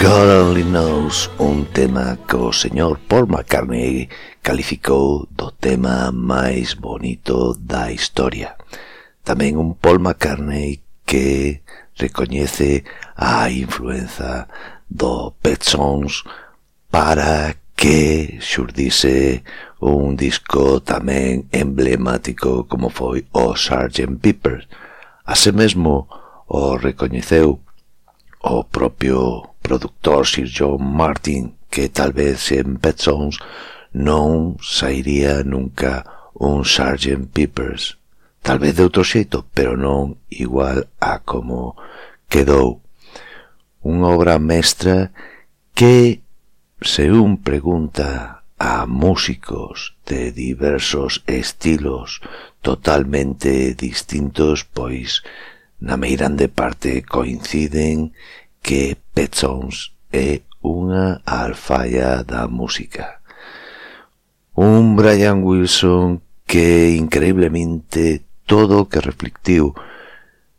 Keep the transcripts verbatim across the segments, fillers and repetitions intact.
God Only Knows, un tema que o señor Paul McCartney calificou do tema máis bonito da historia. Tamén un Paul McCartney que recoñece a influenza do Pet Sounds para que xurdise un disco tamén emblemático como foi o sergeant Pepper. Así mesmo o recoñeceu o propio productor Sir John Martin, que tal vez en Pet Sounds non sairía nunca un sergeant Pepper's, tal vez de outro xeito, pero non igual a como quedou. Unha obra mestra que, se un pregunta a músicos de diversos estilos totalmente distintos, pois na meirande parte coinciden que Pet Sounds é unha alfaia da música. Un Brian Wilson que increíblemente todo o que reflectiu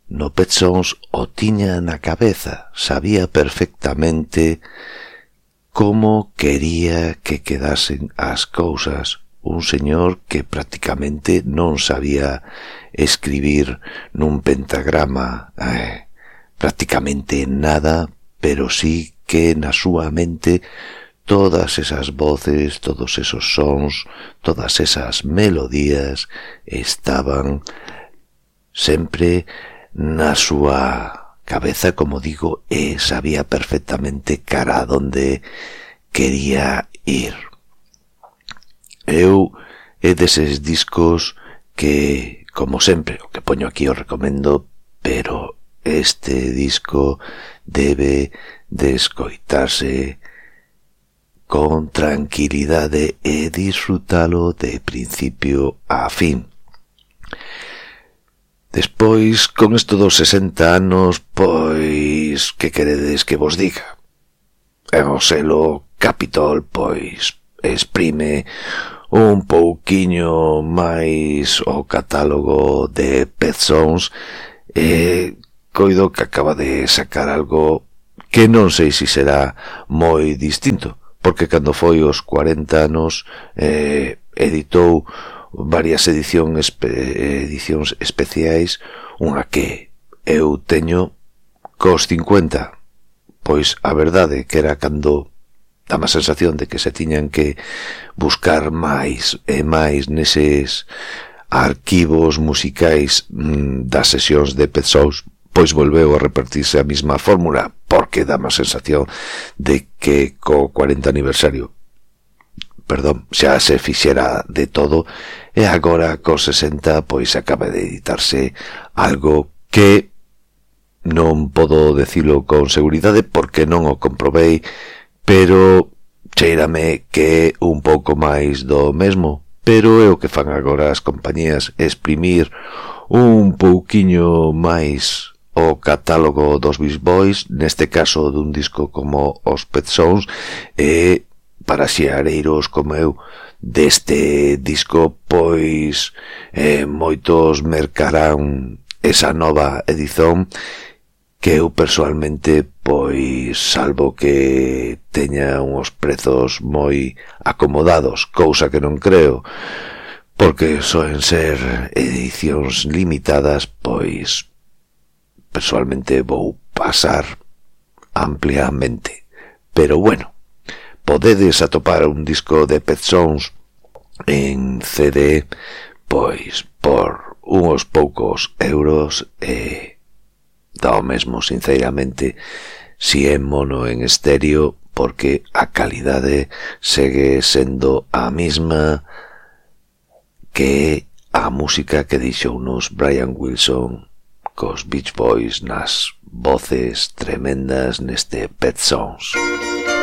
no Pet Sounds o tiña na cabeza, sabía perfectamente como quería que quedasen as cousas. Un señor que prácticamente non sabía escribir nun pentagrama eh, prácticamente nada, pero sí que na súa mente todas esas voces, todos esos sons, todas esas melodías estaban sempre na súa cabeza, como digo, e sabía perfectamente cara a donde quería ir. Eu é deses discos que, como sempre, o que poño aquí o recomendo, pero este disco debe de escoitarse con tranquilidade e disfrutalo de principio a fin. Despois, con isto dos sesenta anos, pois, que queredes que vos diga? E o selo Capitol, pois, exprime un pouquiño máis o catálogo de Pet Sounds e coido que acaba de sacar algo que non sei se será moi distinto, porque cando foi os cuarenta anos eh, editou varias edición espe edicións especiais, unha que eu teño cos cincuenta, pois a verdade que era cando dá a sensación de que se tiñan que buscar máis e máis neses arquivos musicais mmm, das sesións de Pet Sounds, pois volveu a repartirse a mesma fórmula, porque dá a sensación de que co cuarenta aniversario, perdón, xa se fixera de todo, e agora co sesenta pois acaba de editarse algo que non podo decilo con seguridade porque non o comprobei, pero cheirame que é un pouco máis do mesmo, pero é o que fan agora as compañías, exprimir un pouquiño máis o catálogo dos Beach Boys, neste caso dun disco como os Pet Sounds, e para xeareiros como eu deste disco, pois eh, moitos mercarán esa nova edición que eu persoalmente, pois, salvo que teña uns prezos moi acomodados, cousa que non creo, porque soen ser edicións limitadas, pois, persoalmente vou pasar ampliamente. Pero bueno, podedes atopar un disco de Pet Sounds en C D, pois, por uns poucos euros e dá o mesmo, sinceramente, si é mono en estéreo, porque a calidade segue sendo a mesma que a música que deixounos Brian Wilson cos Beach Boys nas voces tremendas neste Pet Sounds.